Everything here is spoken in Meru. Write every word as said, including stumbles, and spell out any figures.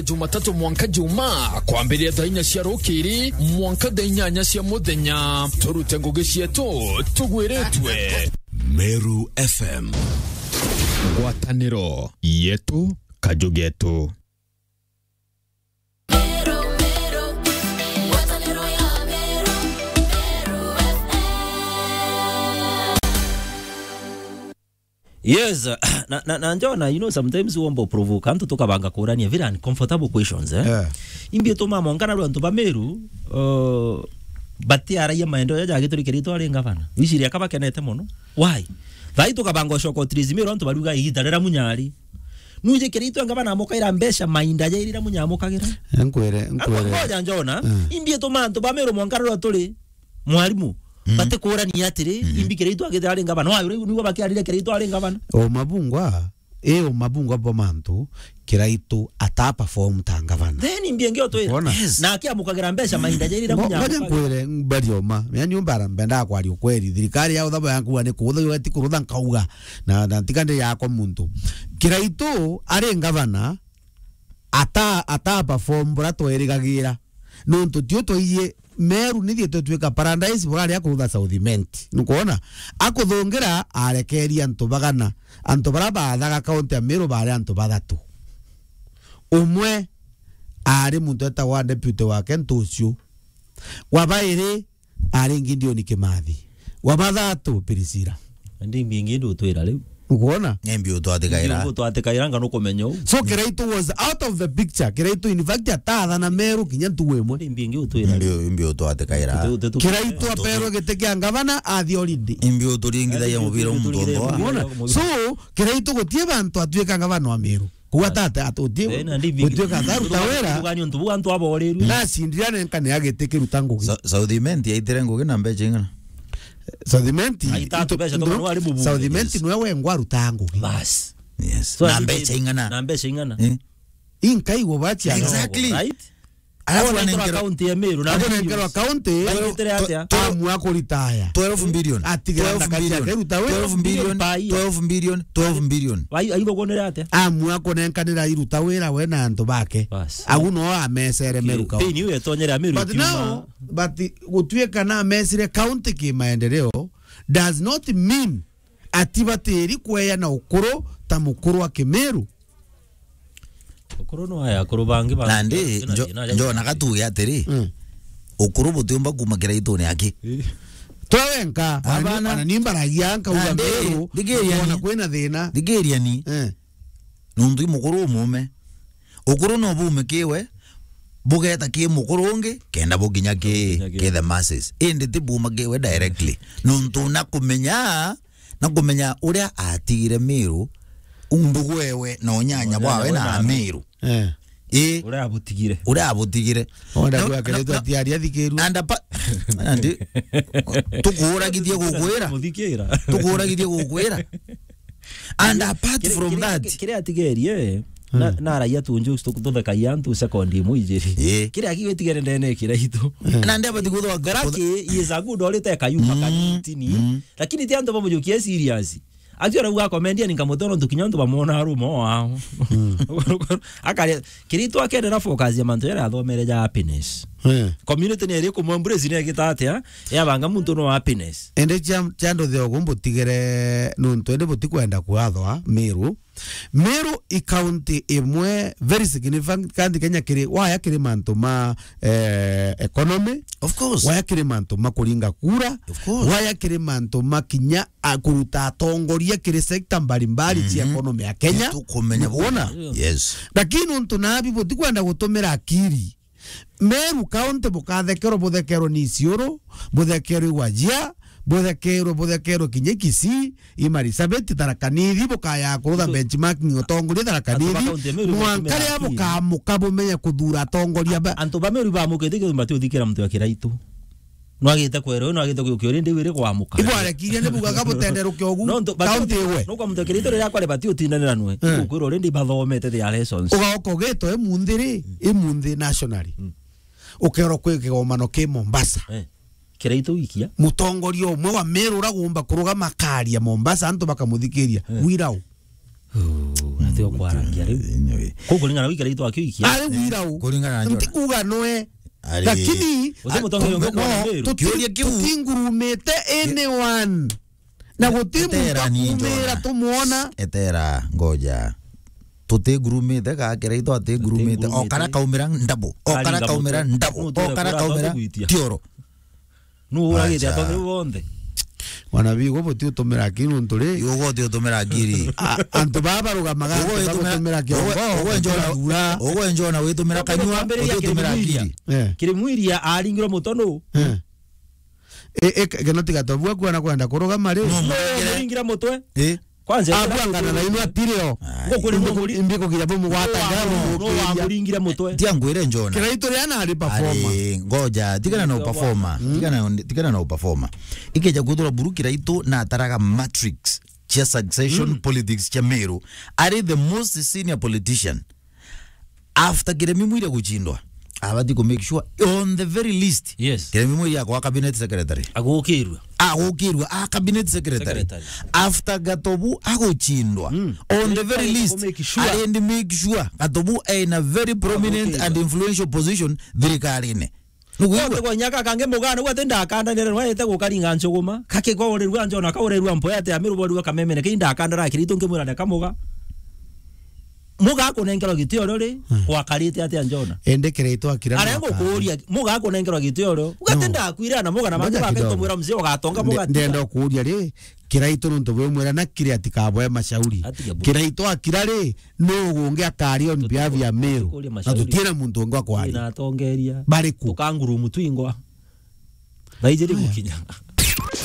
Jumatatu mwanka Juma, kwambiria thaa inya cia rukiri mwanka thaa inyanya cia muthenya. Turute ngugi cietu tugwiritwe. Meru F M. Ngwataniro yetu, kaju getu. Yes, na, na, na njona, you know, sometimes womba provoke antu tukabanga kurania very uncomfortable questions, eh? Yeah. Imbi tuma mongana rwa antu ba Meru, uh, batiaragia maendeleo jaja gituri Kiraitu ari ngavana. Wiciria ka bakenete mono. Why? Thai tukabanga ucoka utirizi Meru antu baruga igita rira munyari. Nuje Kiraitu ngavana amukaira mbeca mainda jairira munyamukagira. Nkwere, nkwere. Ngoja njona, mm, imbi tuma antu ba Meru mongana rwa turi mwarimu. Mm. Batikurania atiri, mm, imbi Kiraitu agithira ari ngavana. Wa, riu niguo bakiarire Kiraitu ari ngavana. O mabungwa, e o mabungwa bo mantu, Kiraitu ata perform ta ngavana. Then imbi ingi utwira. Wona? Yes. Na akiamukagira mbeca mainda jairira ngo-, ngoja munyamukagira. Nkwire mbari oma. Yani umbara mbenda kwaria ukweri. Thirikari ya uthabo yankuwa ni kuutha yo eti kurutha nkauga. Na, na ntika ndi yakwa muntu. Kiraitu ari ngavana, ata, ata perform bura twerigagira. Nontu tio twaiyie Meru nithietwe twika paradise buraria kurutha South Imenti. Nukwona? Akuthungira arekeria antu bagana. Antu bara baathaga kaunti ya Meru bari antu bathatu. Umwe ari muntu etagwa deputy wake Ntucio. Wa bairi ari Gideon Kimathi. Wa bathatu Priscilla. Ndi mbingi ndu utwira riu. Ukwona? Ni mbi utwatikaira. Mbi utwatikaira nga nukumenya u. So Kiraitu was out of the picture. Kiraitu in fact atathana Meru kinya ntugu imwe. Ndi mbingi utwira. Mbi, mbi utwatikaira. Kiraitu aperwe giti kia ngavana athi holiday. Mbi uturingithagia mubira umuntu ondoa. Ukwona? So Kiraitu gutie bantu atwika ngavana wa Meru. Kuga tata atutie. Eh, na ndi mbingi. Gutwika tharu tawera. Tugani untu bu antu aboreru. Na sindira nenka ni agiti kiruta ngugi. Sa-, South Imenti aitire ngugi na mbecha ing'ana? South Imenti, aita ito-, mbeca ndo-, tokana wari mubunge, South Imenti yes, nwe wengwa aruta ngugi. Bas. Yes. So, na mbeca ing'ana? Na mbeca ing'ana? Eh. Inkaigwa bacia. Exactly. Right? Alafu anenkerwa, anenkerwa county ya Meru, na anenkerwa county. Baitire atia? Amua kuritaya. Twelve billion. Atigera ndaka ciake ruta wira. Twelve billion. Twelve billion. Twelve billion. Wai-, aigwa kuonera atia? Amua kunenkanira iruta wira we na antu bake. Bas. Au no amecere Meru county. Pain iu etonyere Meru. But now, but gutuika na amecire county ki maendeleo does not mean ati batiri kweya na ukuru ta mukuru wa Kimeru. Ukuru no aya akuru bangi ba. Nandi, njo-, njona gatuge atiri, mm, ukuru butiumba kuma Kiraitune aki. Eh. Twe wenka, abana, ana ni mbaragia nkauga nandi, Meru, ndigiria ni, kwina thina. Ndigiria ni. Eh. Nuntu i mukuru umume. Ukuru no bume kiwe, bugeta ki mukuru ungi, kenda bukinya ki, bukinya ki, ki the masses. Indi ti buma kiwe directly. Nuntu na kumenya, na kumenya uria atigire Miru, ndugu ewe na unyanya bwawe na Amiru. Eh. Ii. Uria abutigire. Uria abutigire. Onda na, kwa na, Kiraitune na, atiari athikirwe. Anda pa-, andi, tukuuragithie gukwira. Muthikira. Tukuuragithie gukwira. And apart from that, kiri atigerie, na, mm, na raia tu njokes tu-, tuthekagia antu second imwe ijiri. Ii. Kiri akigetigere ndene Kiraitu. Mm. Na ndeba ti kuthwa garaki is a good orite kayuma, mm, kanitini. Mm. Lakini ti antu bamujukie serious. Ati arauga akomendia ni nkamutono ntu kinya antu bamwona arumo wao. Mm. Akare, Kiraitu akendera focus ya mantu yara athomere ja happiness. Eh. Community ni iri kumwe embrace ni egita atia? Yabanga muntu no happiness. Ende cia, cia nduthe ogu mbutigere nuntu ende butikwenda kwathwa Miru. Miru i county imwe very significant Kenya kiri, waya kiri mantu ma, eh, economy. Of course. Waya kiri mantu ma kuringa kura. Of course. Waya kiri mantu ma kinya a kuruta atongoria kiri sector mbalimbali cia, mhm, economy ya Kenya. Tukumenya. Nukwona? Yes. Lakini untu nabi butikwenda gutumira akiri. Meru County bukathekerwa, buthekerwe ni Isiolo, buthekerwe i Wajir, buthekerwe, buthekerwe kinya i Kisii, i Marsabit, Tharaka Nithi, bukaya kurutha benchmarking utongoria Tharaka Nithi, mwanka riria bukamuka bumenya kuthura atongoria ba. Antu ba Meru bamukite kiumba tiu thikira muntu ya Kiraitu. Nwagite kwera uyu, nwagite kujukia uyu, ndi wiri kwamuka. Ibwarekirie ni bugaga butenderuke ugu. No ntu, but county iwe. No kwa muntu Kiraitu riria kwari bati utindanira nwe. Eh. Ukwira already bathomete their lessons. Ugaoka ugitwe imunthi ri, imunthi nationally. Mm. Ukerwa kwi kigomano ki Mombasa. Eh. Kiraitu wikia. Mutongoria umwe wa Meru uragumba kurugama akaria Mombasa, antu bakamuthikiria. Eh. Wirau. Ooh, Yo kwarangia riu. Anyway. Kuu kuringana na wikira itu akiuikia. Ari wira u. Kuringana na Njona. Nti kuga noe. Ari. Lakini, Uti mutongeria no, nkuona Meru. Tuti-, Kiuria kiu. Tutingurumite anyone. Na guti muntu Etera ni akumira Njona. Tumwona. Etera, ngoja. Tutingurumite ka Kiraitu atingurumite. Tutingurumite. O kara kaumira ndabu. O kara kaumira ndabu. O kara kaumira tioro. Nu uragite atongeria bonthe. Wana bigo buti utumira akiri nuntu ri. Ugo uti utumira akiri. A-, antu baba barugamaga, ugo antu utumira, bagutumira kiongo, ugo, ugo Njona, utumira gura. Ugo Njona witumira kanyua, uti utumira akiri. Eh. Kirimwiria aringirwe muto nu? Eh. E, e, kena tiga tobua kuona kwenda kurugama ri. No, no, muringire. Muringira mutwe. Eh. Kwanza, abwangana na inwa tirio. Ai. Ngukuri no muri-, mbikugira bumugwata no wa-, ngara no bumukiria. Wamuringire mutwe. Tia ngwire Njona. Kiraitu ria na ari performer. Ari, ngoja, tigana na performer. Mm. Tigana, tigana na performer. Ikeja kuthura buru Kiraitu na ataraga matrix cia succession politics cia Meru. Ari the most senior politician. After Kiremi Mwiria guchindwa, abati ku make sure on the very least, yes, Kiremi Mwiria akwa cabinet secretary. Agukirwe. Agukirwe, a cabinet secretary. Secretary. After Gatobu aguchindwa, mm, on the very least, ku make sure, arendi make sure Gatobu in a very prominent and influential position thirikarine. Nuguigua? Wote kwa nyaka kange mugana, gwa tenda akanda nere, nwa ete gukaringa nchuguma. Kake kwa urerua Njona, ka urerua mpoya ate amiru borua kamemene, ke inda akanda ra Kiraitu ngimwira ne kamuga. Muga akunengerwa gitio rio ri, mm, gwakarite atia Njona? Ende Kiraitu akira. Arengo kuuria, muga akunengerwa gitio rio. Ugatenda akwira na muga na mangi. Ngoja kidogo. Bakentomwira mzee ugatonga muga. Nde-, ndenda kuuria ri, Kiraitu nuntu bwe mwira na kiri atikaboe mashauri. Atige bu- Kiraitu akira ri, no gungi akaria on behalf ya Meru. Tukuria na mashauri. Tutiena muntu ungi wa kwaria. Ina atongeria. Bariku. Tukangurumu twingwa. Thaijiri gukinya.